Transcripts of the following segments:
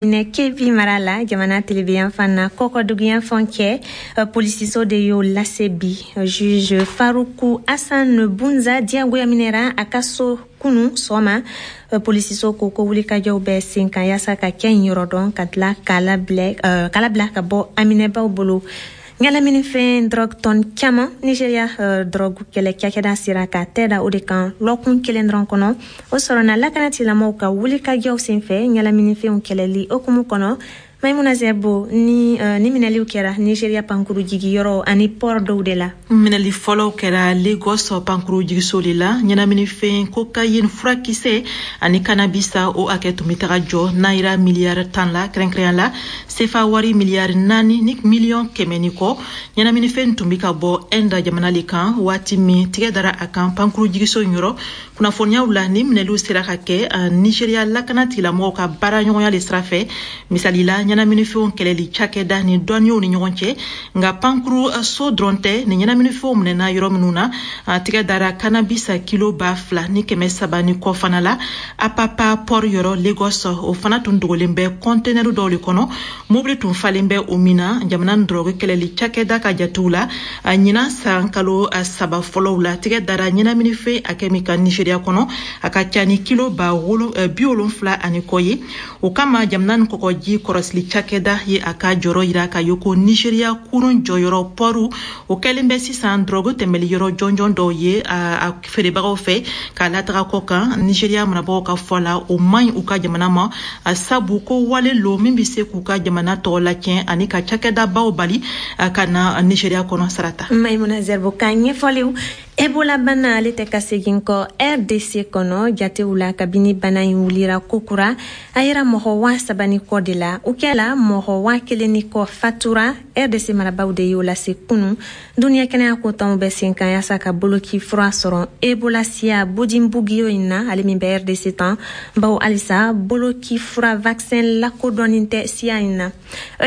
Kebbi mara la, jamana tilebinyanfan na, kɔkɔduguyanfan cɛ, polisiso de y'o lase bi. Juge Faruku Hassan Bunza diyagoya minɛra a ka so kunu sɔgɔma. Polisiso ko ko wulikajɔw bɛ sen kan yaasa ka kɛ in yɔrɔ dɔn, ka tila k'a labila ka bɔ aminɛbaw bolo. Ɲɛnaminifɛn drogue tɔn caman, Nigeria drogue kɛlɛ cakɛda sera ka tɛ da o de kan lɔkun kelen dɔrɔn kɔnɔ. O sɔrɔna lakanatigilamaw ka wulikajɔw senfɛ ɲɛnaminifɛnw kɛlɛli hukumu kɔnɔ. Maimuna Zerbo, ni minɛliw kɛra Nigeria pankuru jigiyɔrɔ ani port dɔw de la. Minɛli fɔlɔw kɛra Lagos pankuru jigiso de la. Ɲɛnaminifɛn cocaïne, furakisɛ ani cannabis, o hakɛ tun bɛ taga jɔ naira miliyari 10 la, kɛrɛnkɛrɛnya la sefa wari miliyari 4 ni miliyɔn 100 ni kɔ. Ɲɛnaminifɛn tun bɛ ka bɔ Inde jamana le kan waati min tigɛ dara a kan pankuru jigiso in yɔrɔ. Kunnafoniyaw la, ni minɛliw sera ka kɛ Nigeria lakana tigilamɔgɔw ka baaraɲɔgɔnya le sira fɛ, misali la ɲɛnaminifɛnw kɛlɛli cakɛda ni dɔnniyaw ni ɲɔgɔn cɛ. Nka pankuru so dɔrɔn tɛ ni ɲɛnaminifɛnw minɛna yɔrɔ minnu na. Tigɛ dara cannabis kilo 2300 ni kɔ fana la Apapa port yɔrɔ Lagos. O fana tun dogolen bɛ kɔntenɛri dɔw le kɔnɔ, mobili tun falen bɛ o min na. Jamana dɔrɔgu kɛlɛli cakɛda ka jatew la, ɲinan san kalo 3 fɔlɔw la, tigɛ dara ɲɛnaminifɛn hakɛ min kan Nigeria kɔnɔ, a ka ca ni kilo ba 70 ani kɔ ye. O kama, jamana ni kɔkɔji kɔrɔsili cakɛda ye a ka jɔrɔ yira ka ye ko Nigeria kurun jɔyɔrɔ pɔru o kɛlen bɛ sisan dɔrɔgu tɛmɛli yɔrɔ jɔnjɔn dɔw ye a feerebagaw fɛ k'a lataga kɔ kan. Nigeria marabagaw ka fɔ la, o man ɲi u ka jamana ma, sabu ko wale lo min bɛ se k'u ka jamana tɔgɔ latiɲɛ ani ka cakɛdabaw bali ka na Nigeria kɔnɔ, Sarata. Maimuna Zerbo ka ɲɛfɔliw. Ebola bana, ale tɛ ka segin kɔ RDC kɔnɔ. Jatew la, kabini bana in wulira kokura, a yera mɔgɔ 3000 ni kɔ de la. O kɛla mɔgɔ 1000 ni kɔ fatura. RDC marabaw de y'o lase kunu. Duniɲɛ kɛnɛya ko tɔnw bɛ sen kan yaasa ka boloki fura sɔrɔ Ebola siya Bundibugyo in na, ale min bɛ RDC tan, bawo halisa boloki fura vaccin lakodɔnnin tɛ siya in na.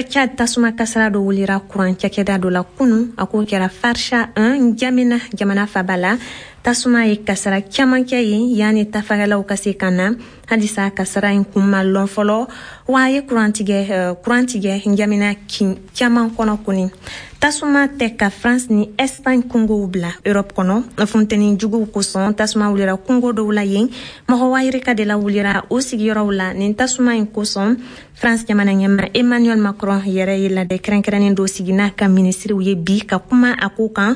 Chad, tasuma kasara dɔ wulira kuran cakɛda dɔ la kunu. A ko kɛra Farcha 1, Njamena jamana faba la. Tasuma ye kasara caman kɛ yen yanni tafagalaw ka se ka na. Halisa kasara in kun ma lɔn fɔlɔ wa a ye kuran tigɛ Njamena kin caman kɔnɔ kɔni. Tasuma tɛ ka France ni Espagne kungow bila Europe kɔnɔ. Funteni juguw kosɔn, tasuma wulira kungo dɔw la yen. Mɔgɔ wayirika de la wulira o sigiyɔrɔw la nin tasuma in kosɔn. France jamana ɲɛma Emmanuel Macron yɛrɛ ye ladɛ kɛrɛnkɛrɛnnen dɔ sigi n'a ka minisiriw ye bi ka kuma a ko kan.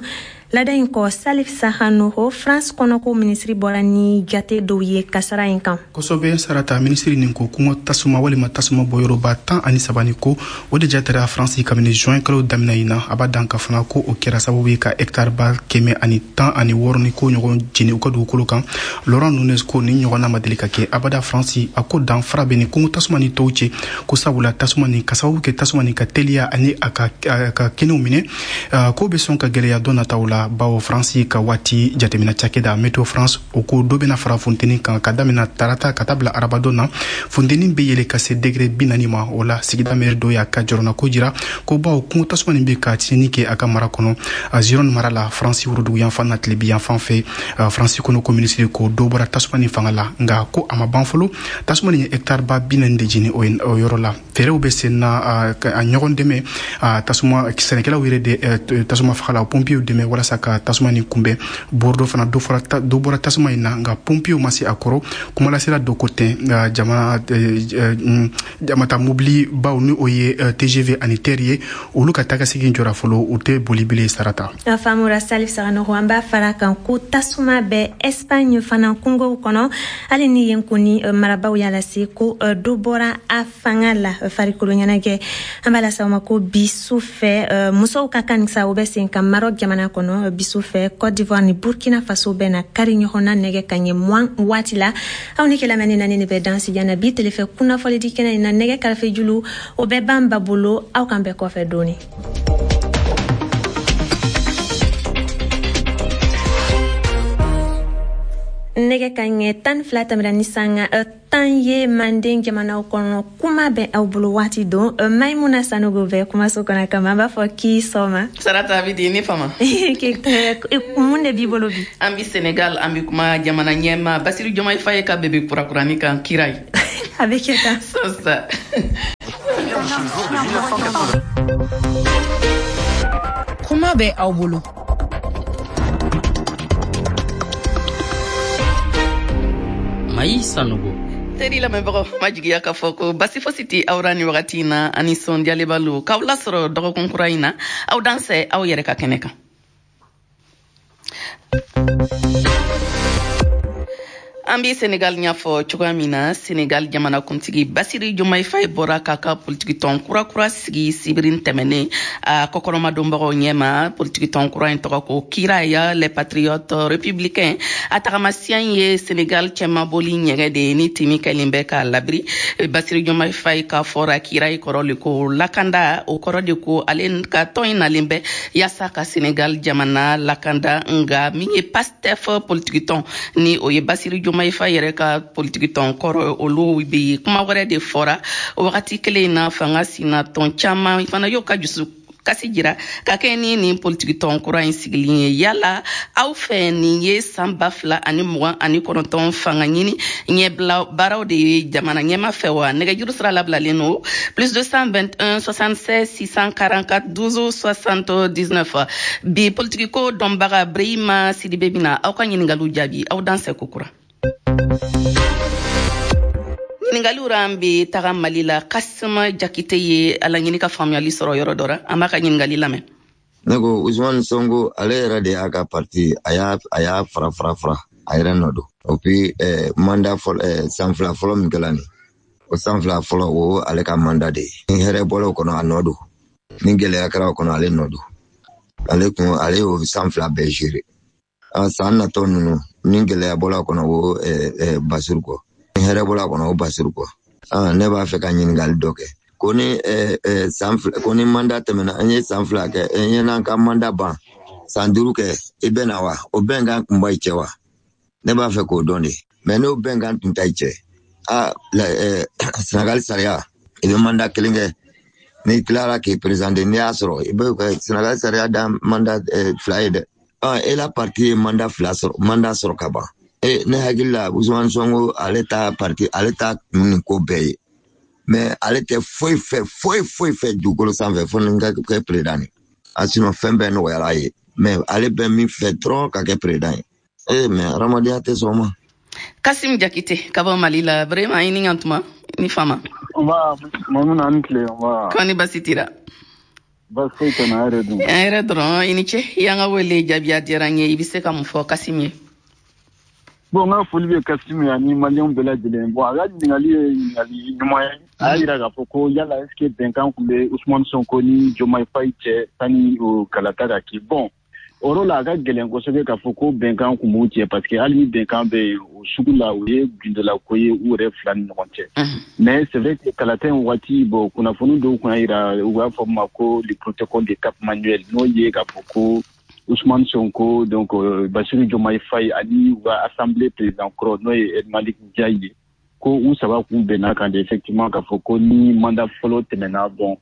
Lada in kɔ, Salif Sahanoho, France kɔnɔko minisiri, bɔra ni jate dɔw ye kasara in kan. Kosɛbɛ, Sarata. Minisiri nin ko kungo tasuma walima tasuma bɔyɔrɔba 13 ni ko, o de jatera Faransi kabini juin kalo daminɛ in na. A b'a dan ka fana ko o kɛra sababu ye ka hectare ba 116 ni ko ɲɔgɔn jeni u ka dugukolo kan. Laurent Nunes ko ni ɲɔgɔnna ma deli ka kɛ abada Faransi. A ko danfara bɛ ni kungo tasuma ni tɔw cɛ, ko sabula tasuma nin ka sababu kɛ tasuma nin ka teliya ani a ka kɛnɛw minɛ, ko bɛ sɔn ka gɛlɛya don nataw la, bawo Faransi ka waati jateminɛ cakɛda Météo France, o ko dɔ bɛna fara funteni kan. Ka damina tarata ka taa bila arabadon na, funteni bɛ yɛlɛ ka se degré 40 ma. O la, sigida maire dɔ y'a ka jɔrɔnako jira ko bawo kungo tasuma nin bɛ ka tiɲɛni kɛ a ka mara kɔnɔ, Gironde mara la, Faransi worodugu yanfan na tilebi yanfan fɛ. Faransi kɔnɔ ko minisiri ko dɔ bɔra tasuma nin fanga la, nka ko a ma ban fɔlɔ. Tasuma nin ye hectare ba 40 de jeni o yɔrɔ la. Fɛɛrɛw bɛ sen na, a ɲɔgɔn dɛmɛ, tasuma sɛnɛkɛlaw yɛrɛ de, tasuma fagala pompiers dɛmɛ walasa ka tasuma nin kunbɛn. Bordeaux fana, dɔ bɔra tasuma in na, nka pompiers ma se a kɔrɔ. Kumalasela dɔ ko ten jamana jamata mobili baw, ni o ye TGV ani TER ye, olu ka tagasegin jɔra fɔlɔ, u tɛ boli bilen, Sarata. A faamura, Salif Saganogo. An b'a fara kan ko tasuma bɛ Espagne fana kungow kɔnɔ, hali ni yen kɔni marabaw y'a lase ko dɔ bɔra a fanga la. Farikolo ɲɛnajɛ, an b'a lase aw ma ko bi su fɛ, musow ka kan sa, o bɛ sen kan Maroc jamana kɔnɔ. Bi su fɛ, Côte d'Ivoire ni Burkina Faso bɛ na kari ɲɔgɔn na nɛgɛ ka ɲɛ 20 waati la. Aw ni kɛlamɛni naani de bɛ dansi na bi telefɛ kunnafɔlidi kɛnɛ in na. Nɛgɛ karafe julu, o bɛ ban ba bolo. Aw kan bɛɛ kɔfɛ dɔɔni. Nɛgɛ ka ɲɛ 12 tɛmɛra ni sanga 10 ye. Manden jamanaw kɔnɔ, kuma bɛ aw bolo waati don. Maimuna Sanogo bɛ kumaso kɔnɔ kama, an b'a fɔ k'i sɔgɔma. Sarata, bi di ne fama. Mun de b'i bolo bi? An bi Senegal, an bi kuma jamana ɲɛma Basiru Jomayi Faye ka bebe kurakurani kan, kira ye. A bɛ kɛ tan. Sisan. Kuma bɛ aw bolo. Mayi Sanogo. Teri lamɛnbagaw, ma jigiya k'a fɔ ko basi fosi tɛ aw ra ni wagati in na, ani sɔndiyaleba lo k'aw lasɔrɔ dɔgɔkun kura in na. Aw dansɛ aw yɛrɛ ka kɛnɛ kan. An bɛ Senegal ɲɛfɔ cogoya min na, Senegal jamanakuntigi Basiri Diomaye Faye bɔra k'a ka politikitɔn kura sigi sibiri tɛmɛnen a kɔkɔrɔmadonbagaw ɲɛma. Politikitɔn kura in tɔgɔ ko Kiraya les Patriotes Républicains. A tagamasiyɛn ye Senegal cɛmaboli ɲɛgɛn de ye ni timi kɛlen bɛ k'a labiri. Basiri Diomaye Faye ka fɔra Kirayi kɔrɔ le ko lakanda, o kɔrɔ de ko ale ka tɔn in nalen bɛ yaasa ka Senegal jamana lakanda. Nka min ye Pastef politikitɔn ni o ye Basiri Diomaye Faye yɛrɛ ka politikitɔn kɔrɔ, olu bɛ kuma wɛrɛ de fɔra. O wagati kelen in na, fanga sina tɔn caman fana y'o ka dusu kasi jira ka kɛ ni nin politikitɔn kura in sigilen ye. Yala aw fɛ nin ye san 2029 fanga ɲini ɲɛbila baaraw de ye jamana ɲɛma fɛ wa? Nɛgɛjuru sira labilalen no +221 76 644 12 79. Bi politikiko dɔnbaga Brahima Sidibe bɛna aw ka ɲininkaliw jaabi. Aw dansɛ kokura. Ɲininkaliw ra, an bɛ taga Mali la. Kasima Jakite ye a laɲini ka faamuyali sɔrɔ yɔrɔ dɔ ra. An b'a ka ɲininkali lamɛn. Ne ko Ousmane Sonko, ale yɛrɛ de y'a ka parti a y'a fara fara fara a yɛrɛ nɔ don. O puis mandat fɔlɔ, san 2 fɔlɔ min kɛla nin, o san 2 fɔlɔ o ale ka mandat de ye. Ni hɛrɛ bɔla o kɔnɔ, a nɔ don. Ni gɛlɛya kɛra o kɔnɔ, ale nɔ don. Ale kun ale y'o san 2 bɛɛ gérer. A san natɔ ninnu, ni gɛlɛya bɔla o kɔnɔ, o Basiru kɔ. Ni hɛrɛ bɔla kɔnɔ, o Basiru kɔ. Ne b'a fɛ ka ɲininkali dɔ kɛ. Ko ni san 2, ko ni mandat tɛmɛna, an ye san 2 kɛ, an ye n'an ka mandat ban, san 5 kɛ, i bɛ na wa? O bɛnkan kun b'a cɛ wa? Ne b'a fɛ k'o dɔn de. Mais n'o bɛnkan tun t'a cɛ, Senegal sariya, i bɛ mandat kelen kɛ. N'i tilara k'i présenter, n'i y'a sɔrɔ, i bɛ Senegal sariya dan mandat 2 ye dɛ. E la parti ye mandat 2 sɔrɔ, mandat sɔrɔ ka ban. Ne hakili la Ousmane Sonko, ale ta parti, ale ta kun nin ko bɛɛ ye. Mais ale tɛ foyi fɛ, foyi foyi fɛ dugukolo sanfɛ fo ni ka kɛ président ye. A sinon fɛn bɛɛ nɔgɔyara a ye. Mais ale bɛ min fɛ dɔrɔn ka kɛ président ye. Mais hadamadenya tɛ sɔn o ma. Kasim Jakite ka bɔ Mali la. Vraiment, i ni ɲan tuma, ni fama. Nba, Mamuna, an tile, nba. Kɔni basi t'i la? Basi foyi tɛ na, yɛrɛ dun? An yɛrɛ dɔrɔn, i ni ce. I y'an ka wele jaabi, a diyara n ye. I bɛ se ka mun fɔ Kasim ye? Bon, n ka foli bɛ Kasim ye ani maliyɛnw bɛɛ lajɛlen. Bon, a ka ɲininkali ye ɲininkali ɲuman ye. A y'a jira k'a fɔ ko yala est ce que bɛnkan tun bɛ Ousmane Sonko ni Diomaye Faye cɛ sani o kalata ka kɛ. Bon, o yɔrɔ la, a ka gɛlɛn kosɛbɛ k'a fɔ ko bɛnkan tun b'u cɛ, parce que hali ni bɛnkan bɛ yen, o sugu la, o ye gundola ko ye u yɛrɛ fila ni ɲɔgɔn cɛ. Mais c'est vrai que kalata in waati, bon, kunnafoni dɔw kun y'a jira, u b'a fɔ ma ko le protocole de Cap Manuel, n'o ye k'a fɔ ko Ousmane Sonko, donc Bassirou Diomaye Faye ani u ka assemblée président kɔrɔ, n'o ye El Malick Ndiaye ye, ko u saba kun bɛnna kan de effectivement k'a fɔ ko ni mandat fɔlɔ tɛmɛna, bon,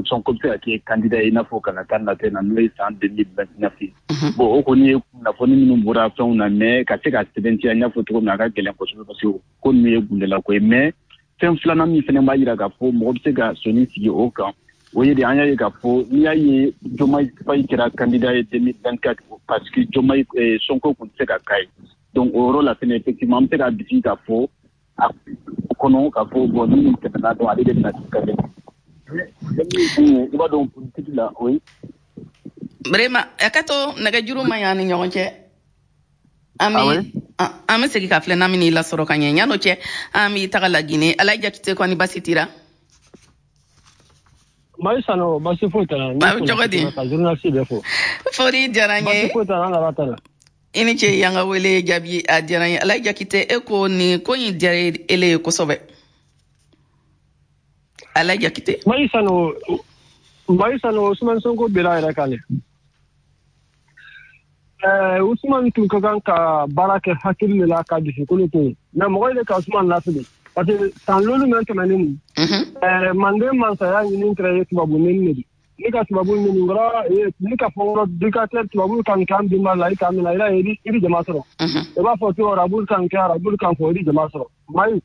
Sonko bɛ se ka kɛ candidat ye i n'a fɔ kalata nata na, n'o ye san 2029 ye. Bon, o kɔni ye kunnafoni minnu bɔra fɛnw na, mais ka se ka sɛbɛntiya n y'a fɔ cogo min na, a ka gɛlɛn kosɛbɛ, parce que ko ninnu ye gundala ko ye. Mais fɛn filanan min fana b'a jira k'a fɔ mɔgɔ bɛ se ka sɔnni sigi o kan, o ye de an y'a ye k'a fɔ n'i y'a ye Diomaye Faye kɛra candidat ye 2024, parce que Diomaye Sonko tun tɛ se ka k'a ye. Donc o yɔrɔ la fɛnɛ, effectivement, an bɛ se k'a bisigi k'a fɔ a kɔnɔ k'a fɔ bon, ni nin tɛmɛna dɔrɔn, ale de bɛna kɛ candidat ye. I b'a dɔn politique la, oui. Vraiment, a ka to nɛgɛjuru ma ɲi an ni ɲɔgɔn cɛ. An bɛ an bɛ segin ka filɛ n'an bɛ n'i lasɔrɔ ka ɲɛ. Yan'o cɛ, an bɛ taga Laginɛ. Alayi Jakite, kɔni basi t'i la? Mayi Sano, basi foyi t'a la. A bɛ cogo di? Ka journaliste bɛɛ fo. Foli diyara n ye. Basi foyi t'a la, an nana ta la. I ni ce, y'an ka wele jaabi, a diyara n ye. Alayi Jakite, e ko nin ko in diyara ele ye kosɛbɛ. Alayi Jakite. Mayi Sano, Mayi Sano, Ousmane Sonko bera yɛrɛ kan dɛ. Ousmane tun ka kan ka baara kɛ hakili de la, ka dusukolo to yen. Mais mɔgɔ de ka Ousmane lafili. Parce que san lolu mɛn tɛmɛnen nin, manden mansaya ɲini kɛra ye tubabu neni de. Ni ka tubabu ɲini kɔrɔ, ni ka fɔ kɔrɔ dictateur tubabu kan kan binba la, i k'a minɛ, i bɛ jama sɔrɔ. I b'a fɔ ko arabu kan kɛ, arabu kan fɔ, i bɛ jama sɔrɔ. Mayi,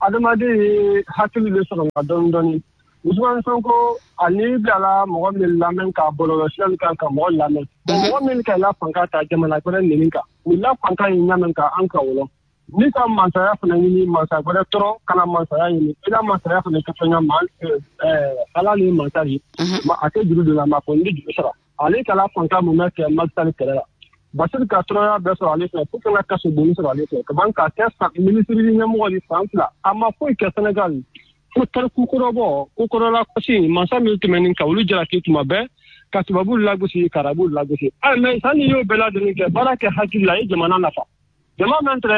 Adamaden ye hakili de sɔrɔ la dɔɔni dɔɔni. Ousmane Sonko ani bilala mɔgɔ min lamɛn ka bɔlɔlɔsira kan ka mɔgɔ lamɛn. Mɔgɔ min ka la fanga ta jamana wɛrɛ neni kan. Ni la fanga ye ɲamɛn ka an ka wɔlɔ. Ni ka mansaya fana ɲini mansa wɛrɛ tɔrɔ kana mansaya ɲini. I la mansaya fana kɛ fɛn ma ala ni mansa ye. A tɛ juru don la ma fɔ n bɛ juru sara. Ale ka la fanga mun bɛ kɛ Macky Sall kɛlɛ la. Basiri ka tɔrɔya bɛɛ sɔrɔ ale fɛ fo kana kaso bonni sɔrɔ ale fɛ. Ka ban k'a kɛ minisiri ɲɛmɔgɔ ni san 2. A ma foyi kɛ Senegal. Ko tariku kɔrɔbɔ ko kɔrɔla kɔsi mansa min tɛmɛnen ka olu jalaki tuma bɛɛ ka tubabu lagosi ka arabu lagosi. Mais sanni y'o bɛɛ lajɛlen kɛ baara kɛ hakili la i ye jamana nafa. Jama min tɛ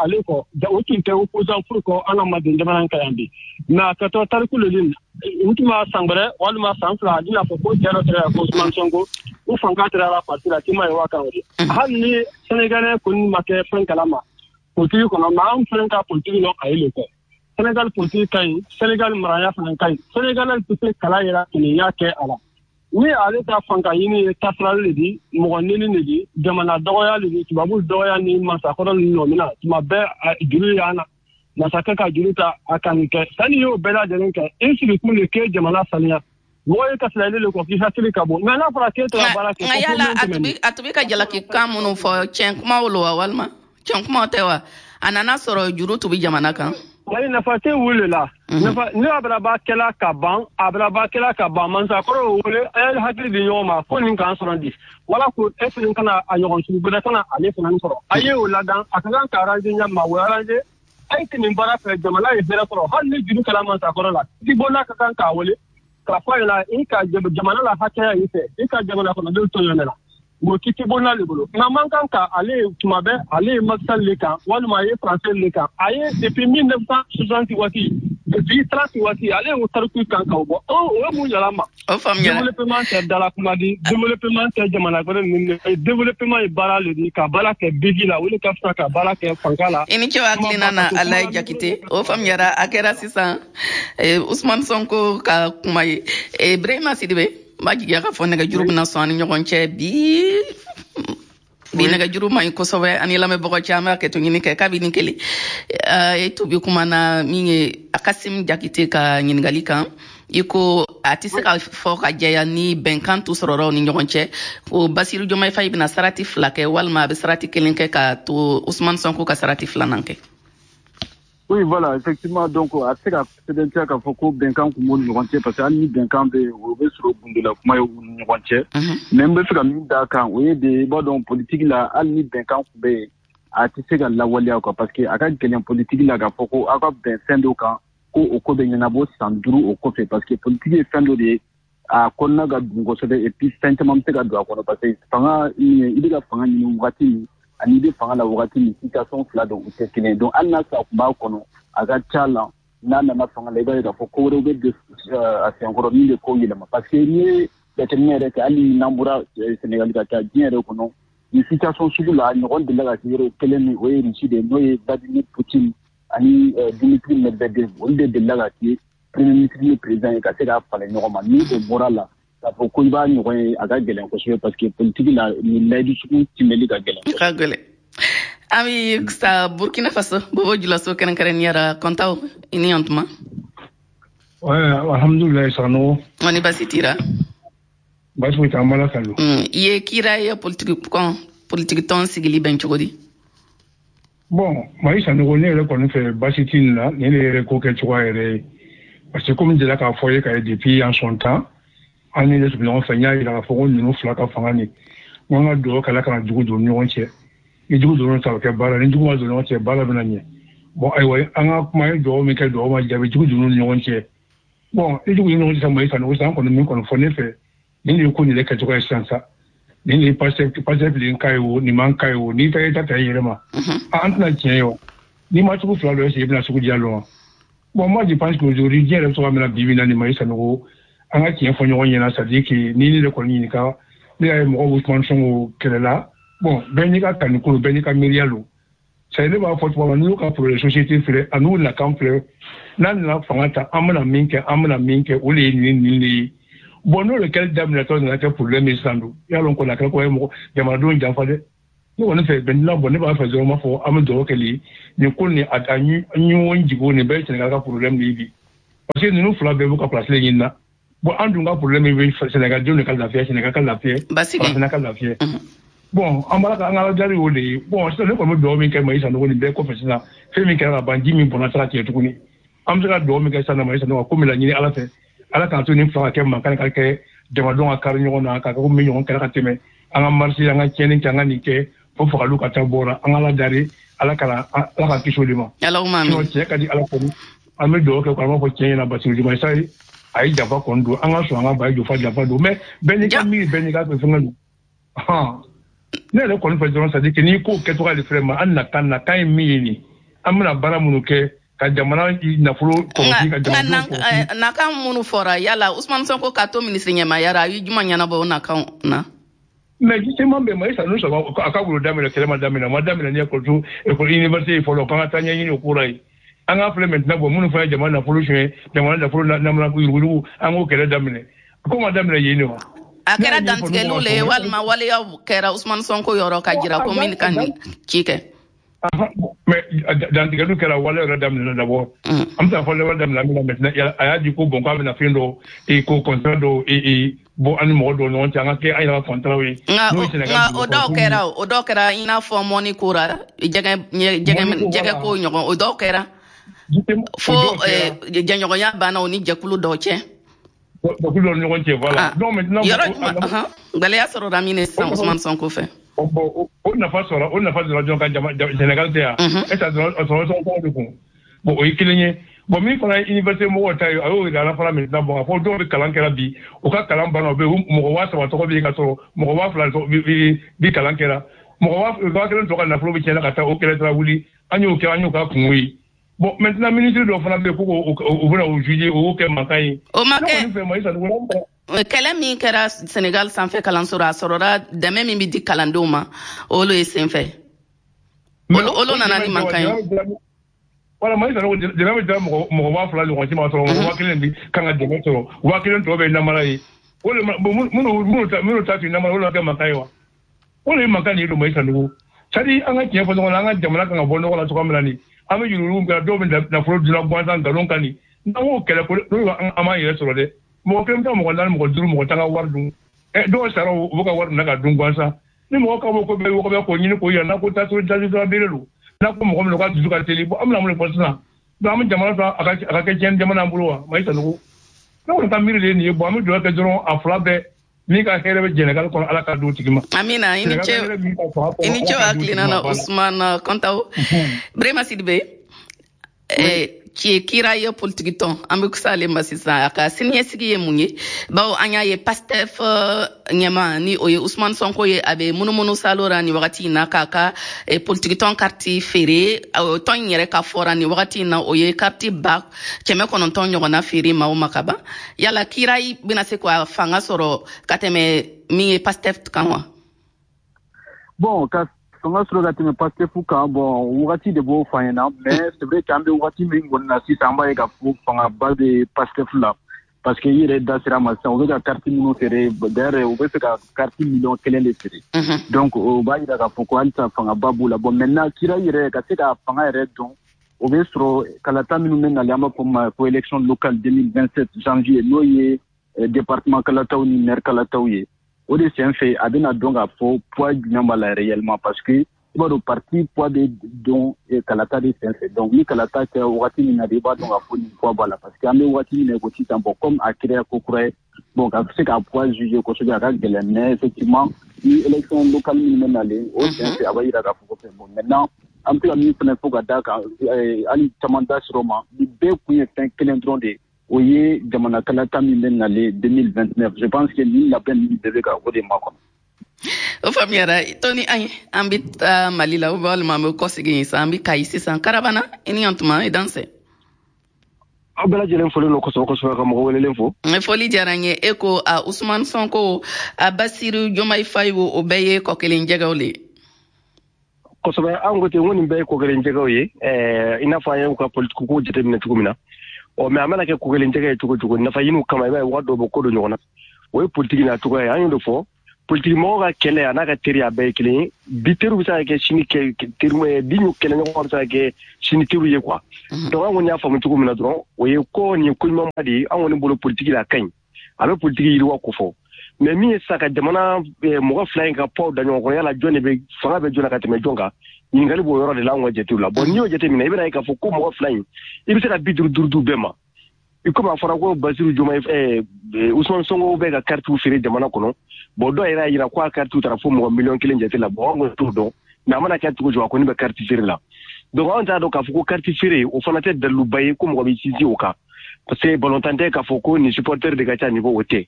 ale kɔ o tun tɛ opposant foyi kɔ an ka Manden jamana kan yan bi. Mais a kɛtɔ tariku le u tun b'a san wɛrɛ walima san 2 a bɛna fɔ ko cɛ dɔ tɛra ko Ousmane Sonko u fanga tɛra la parti la k'i ma ye wa kan o de. Hali ni Sénégalais kɔni ma kɛ fɛn kalama politique kɔnɔ mais an fɛnɛ ka politique lɔ a ye le kɛ. Sénégal politique ka ɲi, Sénégal maraya fana ka ɲi. Sénégalais tɛ se kala yɛrɛ kiniya kɛ a la. Ni ale ka fanga ɲini ye tasirali de di, mɔgɔ neni de di, jamana dɔgɔya de di, tubabu dɔgɔya ni masakɔrɔ ni nɔ tuma bɛɛ juru y'an na. Masakɛ ka juru ta a ka nin kɛ. Sanni y'o bɛɛ lajɛlen kɛ, i sigi kun de k'e jamana saniya. Mɔgɔ ye kasira ile le kɔ k'i hakili ka bon. Mais n'a fɔra k'e taara baara kɛ. Nka yala a tun bɛ ka jalaki kan minnu fɔ tiɲɛ kumaw lo wa walima tiɲɛ kumaw tɛ wa? A nana sɔrɔ juru tun bɛ jamana kan. Wali nafa tɛ wuli la. Nafa ni abaraba kɛla ka ban, abaraba kɛla ka ban mansakɔrɔ wele a ye hakili di ɲɔgɔn ma ko nin k'an sɔrɔ di. Wala ko e fana kana a ɲɔgɔn sugu wɛrɛ kana ale fana sɔrɔ. A ye o ladan a ka kan ka arranger ɲɛ ma o arranger. A ye nin baara fɛ jamana ye hɛrɛ sɔrɔ hali ni juru kɛra mansakɔrɔ la. I bɔnna ka kan k'a wele k'a fɔ a ɲɛna i ka jamana la hakɛya i fɛ i ka jamana kɔnɔdenw tɔɲɔnen na. O kiti bonna le bolo. Nka man kan ka ale tuma bɛɛ ale ye Macky Sall le kan walima a ye français le kan. A ye depuis 1960 waati depuis 30 waati ale y'o tariku kan k'o bɔ. O ye mun yɛlɛ ma. O faamuyara. Développement tɛ dala kuma di, développement tɛ jamana wɛrɛ ninnu de. Développement ye baara le di ka baara kɛ bigi la o de ka fisa ka baara kɛ fanga la. I ni ce hakilina na Alaye Jakite. O faamuyara a kɛra sisan Ousmane Sonko ka kuma ye. Ibrahima Sidibe. N b'a jigiya k'a fɔ nɛgɛjuru bɛna sɔn an ni ɲɔgɔn cɛ bi nɛgɛjuru man ɲi kosɛbɛ ani lamɛnbagaw cɛ an b'a kɛ to ɲini kɛ kabini kelen e tubi kuma na min ye Kassim Jakite ka ɲininkali kan i ko a tɛ se ka fɔ ka jɛya ni bɛnkan tu sɔrɔra u ni ɲɔgɔn cɛ ko Bassirou Diomaye Faye bɛna sarati 2 kɛ walima a bɛ sarati 1 kɛ ka to Ousmane Sonko ka sarati 2nan kɛ. Oui, voilà, effectivement, donc, a se ka sɛbɛntiya k'a fɔ ko bɛnkan kun b'u ni ɲɔgɔn cɛ parce que hali ni bɛnkan bɛ yen o bɛ sɔrɔ gundola kuma ye u ni ɲɔgɔn cɛ. Mais n bɛ fɛ ka min d'a kan o ye de i b'a dɔn politique la hali ni bɛnkan kun bɛ yen a tɛ se ka lawaleya quoi parce que a ka gɛlɛn politique la k'a fɔ ko aw ka bɛn fɛn dɔ kan ko o ko bɛ ɲɛnabɔ san 5 o kɔfɛ parce que politique ye fɛn dɔ de ye a kɔnɔna ka dun kosɛbɛ et puis fɛn caman bɛ se ka don a kɔnɔ parce que fanga i bɛ ka fanga ɲini wagati min ani i bɛ fanga la wagati min situation 2 don u tɛ kelen ye donc hali n'a sɔrɔ a tun b'a kɔnɔ a ka ca la n'a nana fanga la i b'a ye k'a fɔ ko wɛrɛw bɛ don a senkɔrɔ min bɛ kow yɛlɛma parce que n'i ye jateminɛ yɛrɛ kɛ hali n'an bɔra Sénégal ka taa diɲɛ yɛrɛ kɔnɔ nin situation sugu la ɲɔgɔn delila ka kɛ yɔrɔ kelen min o ye Russie de ye n'o ye Vladimir Poutine ani Dmitri Medvedev olu de delila ka kɛ premier ministre ni président ye ka se k'a falen ɲɔgɔn ma ni o bɔra la k'a fɔ ko i b'a ɲɔgɔn ye a ka gɛlɛn kosɛbɛ parce que politique la nin layidu sugu timɛli ka gɛlɛn. Ka gɛlɛn. An bɛ sa Burkina Faso Bobo Julaso kɛrɛnkɛrɛnnenya la Kɔntaw i ni yan tuma. Ouais, alhamdulilayi Sanogo. Ni baasi t'i la. Baasi foyi t'an bala kan. I ye kira ye politique tɔn sigili bɛn cogo di? Bon, Mayi Sanogo ne yɛrɛ kɔni fɛ baasi t'i nin na nin de yɛrɛ ko kɛ cogoya yɛrɛ ye parce que komi delila k'a fɔ ye ka ye depuis en son temps an ni ne tun bɛ ɲɔgɔn fɛ n y'a yira k'a fɔ ko ninnu fila ka fanga nin n ko an ka dugawu kɛ Ala kana jugu don ɲɔgɔn cɛ ni jugu donna ta o kɛ baara ni jugu ma don ɲɔgɔn cɛ baara bɛna ɲɛ bon ayiwa an ka kuma ye dugawu min kɛ dugawu ma jaabi jugu donna ni ɲɔgɔn cɛ bon ni jugu donna ɲɔgɔn cɛ sisan Mayi Sanogo sisan an kɔni min kɔni fɔ ne fɛ nin de ye ko nin de kɛcogoya ye sisan sa nin de ye Pastef nin ka ye o nin man ka ye o n'i taara i ta ta i yɛrɛ ma an tɛna tiɲɛ ye o n'i ma sugu fila dɔn est-ce que i bɛna sugu diya dɔn wa. Bon, moi je pense qu'aujourd'hui diɲɛ yɛrɛ bɛ cogoya min na bi bi in na nin Mayi Sanogo an ka tiɲɛ fɔ ɲɔgɔn ɲɛna c'est à dire que ni ne de kɔni ɲininka ne y'a ye mɔgɔw bɛ Ousmane Sonko kɛlɛ la bon bɛɛ n'i ka kaniko don bɛɛ n'i ka miiriya don c'est à dire ne b'a fɔ tuma min n'u ka projet société filɛ a n'u nakan filɛ n'a nana fanga ta an bɛna min kɛ an bɛna min kɛ o de ye nin nin de ye bon n'o de kɛli daminɛtɔ nana kɛ problème ye sisan don i y'a dɔn kɔni a kɛra ko ye mɔgɔ jamanadenw janfa dɛ. Ne kɔni fɛ bɛn bɔ ne b'a fɛ dɔrɔn b'a fɔ an bɛ dugawu kɛli nin ko nin a ɲɔgɔn jigo nin bɛɛ ye Sénégal ka problème de ye bi parce que ninnu fila bɛɛ b'u ka place ɲini na. Bon an dun ka problème bɛ Sénégal denw de ka lafiya, Sénégal ka lafiya, Farafinna ka lafiya. Bon an b'a ka an ka ala deli o de ye. Bon sisan ne kɔni bɛ dugawu min kɛ Mayi Sanogo nin bɛɛ kɔfɛ sisan, fɛn min kɛra ka ban, ji min bɔnna sira tigɛ tuguni, an bɛ se ka dugawu min kɛ sisan Mayi Sanogo ko min laɲini Ala fɛ, Ala k'an to nin fila ka kɛ mankan ka kɛ jamadenw ka kari ɲɔgɔn na, ka kɛ komi ɲɔgɔn kɛra ka tɛmɛ, an ka marisi, an ka tiɲɛni kɛ, an ka nin kɛ fo fagaliw ka taa bɔra. An ka ala dari, Ala kana Ala ka kisi o de ma. Sinon tiɲɛ ka di Ala kɔni, an bɛ dugawu kɛ, an b'a fɔ tiɲɛ ɲɛna Basiru Diomaye Faye a ye janfa kɔni don, an ka sɔn an ka ba ye jofa janfa don, mais bɛɛ n'i ka miiri, bɛɛ n'i ka fɛngɛ don. Ne yɛrɛ kɔni fɛ dɔrɔn, c'est à dire que n'i ko kɛcogoya de filɛ ma, an nakan ye min ye nin, an bɛna baara minnu kɛ ka jamana nafolo kɔlɔsi, ka jamana kɔlɔsi. Nakan minnu fɔra, yala Ousmane Sonko ka to minisiri ɲɛmaaya la, a ye juma ɲɛnabɔ o nakan na? Mais justement bɛn Mayi Sanogo a ka wolo daminɛ, kɛlɛ ma daminɛ, a ma daminɛ ni école école université fɔlɔ, k'an ka taa ɲɛɲini o ko la yen. An k'a filɛ maintenant, bon minnu fana ye jamana nafolo suɲɛ, jamana nafolo namana yuruguyurugu, an k'o kɛlɛ daminɛ. Ko ma daminɛ yen de wa? A kɛra dantigɛliw le ye walima waleyaw kɛra Ousmane Sonko yɔrɔ ka jira ko min ka nin ci kɛ? Mais dantigɛliw kɛra, wale yɛrɛ daminɛna d'abord. An bɛ taa fɔ wale daminɛ min na maintenant, a y'a di ko bon k'a bɛna fɛn dɔ ko contrat dɔw bɔ an ni mɔgɔ dɔw ɲɔgɔn cɛ, an ka kɛ an yɛrɛ ka contrat ye. Nka o dɔw kɛra, o dɔw kɛra i n'a fɔ mɔni ko ra, jɛgɛ ko ɲɔgɔn, o dɔw kɛra fo jɛɲɔgɔnya banna o ni jɛkulu dɔw cɛ. Jɛkulu dɔw ni ɲɔgɔn cɛ, voilà. Donc maintenant yɔrɔ gɛlɛya sɔrɔla min sisan Ousmane Sonko fɛ. Bon o nafa sɔrɔ, o nafa sɔrɔ jɔn ka jama Sénégal tɛ yan. E ta dɔrɔn a sɔrɔ Sonko de kun. Bon o ye kelen ye. Bon min fana ye université mɔgɔw ta ye, a y'o yira an na fana maintenant. Bon a fɔ dɔw bɛ kalan kɛra bi, u ka kalan banna, u bɛ mɔgɔ 3000 tɔgɔ bɛ yen ka sɔrɔ mɔgɔ 2000 bi kalan kɛra. Mɔgɔ 1000 tɔ ka nafolo bɛ tiɲɛna ka taa, o kɛlɛ taara wuli, an y'o kɛ, an y'o ka kungo ye. Bon maintenant ministre dɔw fana bɛ yen ko u bɛna o juger, o y'o kɛ mankan ye. O ma kɛ. Kɛlɛ min kɛra Sénégal sanfɛ kalanso la, a sɔrɔla dɛmɛ min bɛ di kalandenw ma, olu ye senfɛ. Olu nana ni mankan ye. Wala Mayi Sanogo dɛmɛ bɛ dira mɔgɔ 2000 ɲɔgɔn ci ma, sɔrɔ mɔgɔ 1000 bi kan ka dɛmɛ sɔrɔ, 1000 tɔ bɛ namara ye. O de minnu ta tun namara, olu kɛ mankan ye wa? O de ye mankan de ye don Mayi Sanogo. C'est à dire an ka tiɲɛ fɔ ɲɔgɔn na, an ka jamana kan ka bɔ nɔgɔ la cogoya min na nin, an bɛ yuruguyurugu kɛ, dɔw bɛ nafolo dunna gansan nkalon kan nin, n'an k'o kɛlɛ ko n'o an m'an yɛrɛ sɔrɔ dɛ. Mɔgɔ kelen bɛ taa mɔgɔ 4, mɔgɔ 5, mɔgɔ 10 ka wari dun. Dɔw sara u bɛ ka wari minɛ ka dun gansan. Ni mɔgɔ ka bɔ ko bɛɛ wɔgɔbɛ k'o ɲini k'o yira, n'a ko tasuma bere don, n'a ko mɔgɔ min ka dusu ka teli, bon an bɛna mun de fɔ sisan? Donc an bɛ jamana ta a ka kɛ tiɲɛni jamana an bolo wa? Mayi Sanogo. Ne kɔni ka miiri de ye nin ye. Bon an bɛ dugawu kɛ dɔrɔn a fila bɛɛ min ka hɛrɛ bɛ Sénégal kɔnɔ, Ala ka d'o tigi ma. Amina, i ni ce, i ni ce hakilina na Ousmane Kontaw. Brema Sidibé, kira ye politiki tɔn, an bɛ s'ale ma sisan, a ka siniɲɛsigi ye mun ye? Bawo an y'a ye Pastef ɲɛma ni o ye Ousmane Sonko ye, a bɛ munumunu salo la nin wagati in na k'a ka politiki tɔn karti feere. Tɔn in yɛrɛ ka fɔra nin wagati in na, o ye karti 900 ɲɔgɔnna feere maaw ma ka ban. Yala kira bɛna se ka fanga sɔrɔ ka tɛmɛ min ye Pastef kan wa? Bon ka fanga sɔrɔ ka tɛmɛ Pastef kan, bon wagati de b'o fɔ an ɲɛna, mais c'est vrai qu'an bɛ wagati min kɔni na sisan, an b'a ye k'a fɔ fangaba bɛ Pastef la, parce que i yɛrɛ da sera a ma sisan, u bɛ ka carte minnu feere, d'ailleurs u bɛ fɛ ka carte 1 million de feere. Donc o b'a jira k'a fɔ ko halisa fangaba b'u la. Bon maintenant kira yɛrɛ ka se ka fanga yɛrɛ dɔn, o bɛ sɔrɔ kalata minnu bɛ nalen, an b'a fɔ ma ko élection locale 2027 janvier, n'o ye département kalataw ni maire kalataw ye. O de sen fɛ a bɛna dɔn k'a fɔ poids jumɛn b'a la réellement, parce que i b'a dɔn parti poids bɛ dɔn kalata de sen fɛ. Donc ni kalata kɛra wagati min na de, i b'a dɔn k'a fɔ nin poids b'a la, parce que an bɛ wagati min na i ko sisan, bon comme a kɛra ko kura ye, bon ka se k'a poids juger kosɛbɛ a ka gɛlɛn, mais effectivement ni élection locale minnu bɛ nalen, o sen fɛ a b'a jira k'a fɔ ko fɛn. Bon maintenant an bɛ se ka min fana fɔ ka d'a kan, hali caman da sɔrɔ ma, nin bɛɛ kun ye fɛn kelen dɔrɔn de ye, o ye jamana kalata min bɛ nalen 2029. Je pense que nin labɛn ninnu bɛɛ bɛ ka o de makɔnɔ. O faamuyara. Tɔni, an bɛ taa Mali la, walima an bɛ kɔsegin sisan, an bɛ Kayi sisan. Karabana, i ni yan tuma, i dansɛ. Aw bɛɛ lajɛlen foli don kosɛbɛ kosɛbɛ, ka mɔgɔ welelen fo. Foli diyara n ye. E ko a Ousmane Sonko, a Bassirou Diomaye Faye, o bɛɛ ye kɔ kelen jɛgɛw le ye. Kosɛbɛ, an ko ten ko nin bɛɛ ye kɔ kelen jɛgɛw ye, i n'a fɔ an y'u ka politiki ko jateminɛ cogo min na. Ɔ mais a mana kɛ ko kelen jɛgɛ ye cogo cogo, nafa ɲiniw kama, i b'a ye waga dɔw bɛ ko don ɲɔgɔn na, o ye politiki n'a cogoya ye. An y'o de fɔ Politiki mɔgɔw ka kɛlɛ a n'a ka teri a bɛɛ ye kelen ye. Bi teriw bɛ se ka kɛ sini teri, bi kɛlɛɲɔgɔn bɛ se ka kɛ sini teriw ye quoi. Donc an kɔni y'a faamu cogo min na dɔrɔn, o ye ko nin ye ko ɲumanba de ye. An kɔni bolo politiki la a ka ɲi, a bɛ politiki yiriwa ko fɔ. Mais min ye sisan ka jamana mɔgɔ fila in ka poids da ɲɔgɔn kɔrɔ, yala jɔn de bɛ fanga bɛ jɔn na ka tɛmɛ jɔn kan, ɲininkali b'o yɔrɔ de la anw ka jatew la. Bon, n'i y'o jateminɛ, i bɛna ye k'a fɔ ko mɔgɔ fila in, i bɛ se ka 55 d'u bɛɛ ma. I komi a fɔra ko Basiru Diomaye, Ousmane Sonko bɛ ka karitiw feere jamana kɔnɔ. Bon, dɔw yɛrɛ y'a jira ko a karitiw taara fo mɔgɔ 1 miliyɔn jate la. Bon, an kɔni t'o dɔn, mais a mana kɛ cogo cogo, a kɔni bɛ kariti feere la. Donc anw t'a dɔn k'a fɔ ko kariti feere o fana tɛ daliluba ye ko mɔgɔ bɛ sinsin o kan, parce que balontan tɛ k'a fɔ ko nin supporter de ka ca nin ko, o tɛ.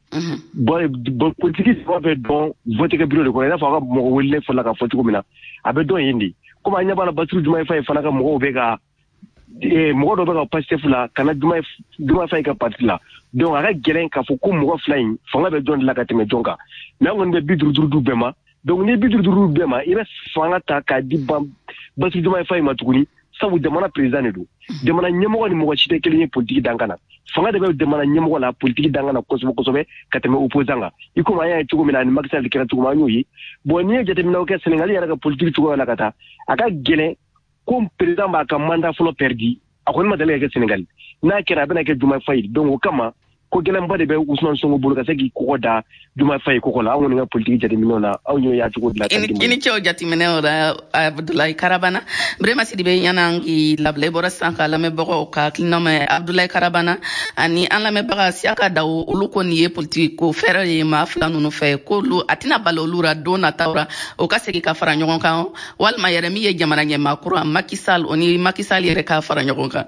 Bon, politiki saba bɛ dɔn vote kɛ bureau de kɔnɔ, i n'a fɔ a ka mɔgɔ welelen fɔlɔ ka fɔ cogo min na, a bɛ dɔn yen de. Komi an ɲɛ b'a la, Basiru Diomaye Faye fana ka mɔgɔw bɛ ka mɔgɔ dɔ bɛ ka Pastef la ka na Diomaye Faye ka parti la. Donc a ka gɛlɛn k'a fɔ ko mɔgɔ fila in fanga bɛ jɔn de la ka tɛmɛ jɔn kan. Mais an kɔni bɛ 55 d'u bɛɛ ma. Donc ni 55 d'u bɛɛ ma, i bɛ fanga ta k'a di Basiru Diomaye Faye ma tuguni, sabu jamana président de don. Jamana ɲɛmɔgɔ ni mɔgɔ si tɛ kelen ye politiki dankan na. Fanga de bɛ jamana ɲɛmɔgɔ la politiki dankan na kosɛbɛ kosɛbɛ ka tɛmɛ opposant kan, i komi an y'a ye cogo min na ani Macky Sall kɛra cogo min, an y'o ye. Bon, n'i ye jateminɛw kɛ Sénégal yɛrɛ ka politiki cogoya la ka taa, a ka gɛlɛn ko président b'a ka mandat fɔlɔ perdu. A kɔni ma deli ka kɛ Sénégal. N'a kɛra, a bɛna kɛ Diomaye Faye. Donc o kama, ko gɛlɛnba de bɛ Ousmane Sonko bolo ka se k'i kɔgɔ da Diomaye Faye kɔgɔ la. Anw kɔni ka politiki jateminɛw na, aw y'o y'a cogo dilan. I ni cɛw jateminɛw la, Abdoulaye Karabana. Birema Sidibe, yan'an k'i labila, i bɔra sisan ka lamɛnbagaw ka hakilina mɛn. Abdoulaye Karabana ani an lamɛnbaga Siyaka Dawo, olu ko nin ye politiki ko fɛɛrɛ ye maa fila ninnu fɛ, k'olu a tɛna bali olu ra don nataw ra o ka segin ka fara ɲɔgɔn kan, walima yɛrɛ min ye jamana ɲɛmaa kura Macky Sall, o ni Macky Sall yɛrɛ ka fara ɲɔgɔn kan.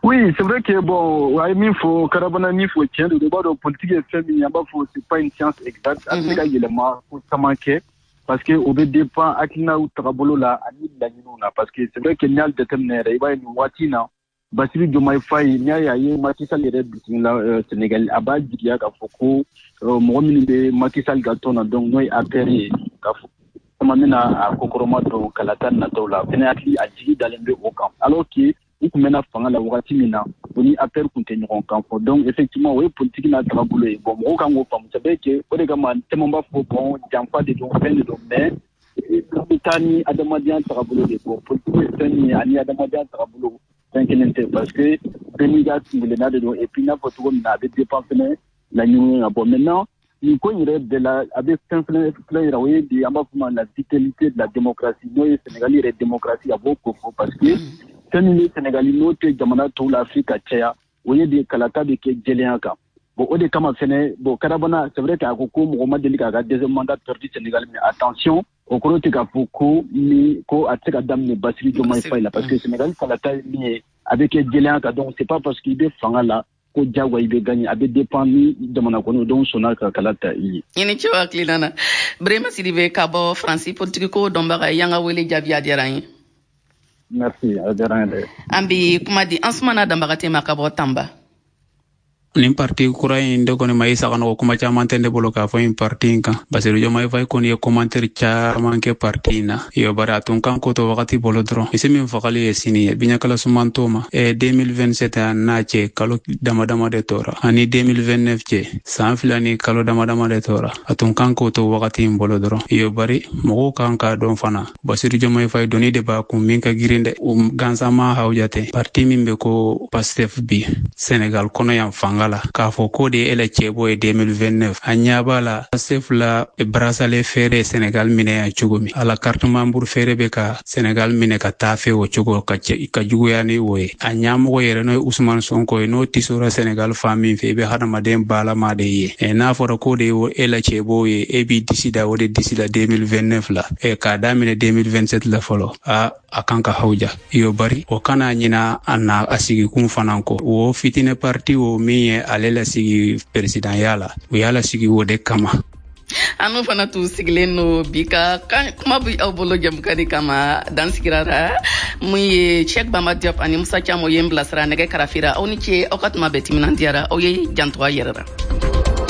Oui, c'est vrai que bon, a ye min fɔ, Karabana min fɔ, tiɲɛ don. I b'a dɔn politique ye fɛn min ye, an b'a fɔ c'est pas une science exacte. A bɛ se ka yɛlɛma ko caman kɛ, parce que o bɛ dépend hakilinaw tagabolo la ani laɲiniw na. Parce que c'est vrai que n'i y'a jateminɛ yɛrɛ, i b'a ye nin waati in na, Bassirou Diomaye Faye, n'i y'a ye a ye Macky Sall yɛrɛ bisimila Sénégal, a b'a jigiya k'a fɔ ko mɔgɔ minnu bɛ Macky Sall ka tɔn na, donc n'o ye APR ye, k'a fɔ caman bɛna a kokɔrɔma don kalata nataw la. Fɛnɛ hakili a jigi dalen bɛ o kan, alors que u tun bɛna fanga la wagati min na, o ni APR tun tɛ ɲɔgɔn kan fɔ. Donc effectivement, o ye politique n'a tagabolo ye. Bon, mɔgɔw kan k'o faamu. C'est vrai que o de kama caman b'a fɔ bon, janfa de don, fɛn de don, mais an bɛ taa ni adamadenya tagabolo de. Bon, politique ye fɛn min ye ani adamadenya tagabolo, fɛn kelen tɛ, parce que bɛɛ n'i ka kunkelenna de don. Et puis n y'a fɔ cogo min na, a bɛ dépend fɛnɛ laɲiniw na. Bon, maintenant, nin ko in yɛrɛ bɛɛ la, a bɛ fɛn fɛnɛ filɛ yira, o ye de an b'a fɔ ma la vitalité de la démocratie, n'o ye Sénégal yɛrɛ démocratie, a b'o ko fɔ, parce que fɛn min bɛ Sénégal n'o tɛ jamana tɔw la Afrique ka caya, o ye de kalata bɛ kɛ jɛlenya kan. Bon, o de kama fɛnɛ, bon, Karabana, c'est vrai k'a ko ko mɔgɔ ma deli k'a ka deuxième mandat perdu Sénégal, mais attention, o kɔrɔ tɛ k'a fɔ ko ni ko a tɛ se ka daminɛ Bassirou Diomaye Faye la, parce que Sénégal kalata ye min ye, a bɛ kɛ jɛlenya kan. Donc c'est pas parce que i bɛ fanga la ko diyagoya i bɛ gagner. A bɛ dépend ni jamana kɔnɔdenw sɔnna ka kala ta i ye. I ni ce hakilina na, Birema Sidibe ka bɔ Faransi, politiki ko dɔnbaga y'an ka wele jaabi, a diyara an ye. Merci, a diyara an ye dɛ. An bi kuma di Ansumana Danbagate ma ka bɔ Tanba. Nin parti kura in de kɔni ma i saganɔgɔ, kuma caman tɛ ne bolo k'a fɔ nin parti in kan. Basiru Diomaye Faye kɔni ye commentaire caman kɛ parti in na yo, bari a tun kan ko to wagati bolo dɔrɔn. Misi min fagali ye sini ye, biɲɛkala suman t'o ma. 2027 a n'a cɛ, kalo dama dama de tora, ani 2029 cɛ, san 2 ni kalo dama dama de tora. A tun kan k'o to wagati in bolo dɔrɔn yo, bari mɔgɔw kan k'a dɔn fana, Basiru Diomaye Faye doni de b'a kun min ka girin dɛ, o gansan ma hawja tɛ. Parti min bɛ ko Pastef bi Senegal kɔnɔ yan fanga la, k'a fɔ k'o de ye e la cɛbɔ ye 2029, a ɲɛ b'a la Pastef la bracelet feere Senegal minɛ yan cogo min, a la carte membre feere bɛ ka Senegal minɛ ka taa fɛ o cogo ka ka juguya ni o ye. A ɲɛmɔgɔ yɛrɛ, n'o ye Ousmane Sonko ye, n'o tisora Senegal fan min fɛ, i bɛ hadamaden balama de ye. N'a fɔra k'o de ye e la cɛbɔ ye, e b'i disi da o de disi la 2029 la, k'a daminɛ 2027 la fɔlɔ, a kan ka hawja yo. Bari o kana ɲina a na a sigikun fana kɔ. O fitinɛ parti o min ye ale lasigi peresidanya la, u y'a lasigi o de kama. Anu fana t'u sigilen no bi ka kuma bi aw bolo jamukani kama dan sigirara. Mun ye Cheikh Bamba Diop ani Musa Camo ye n bilasira nɛgɛ karafira. Aw ni ce, aw ka tuma bɛɛ timinandiyara. Aw ye janto a yɛrɛ la.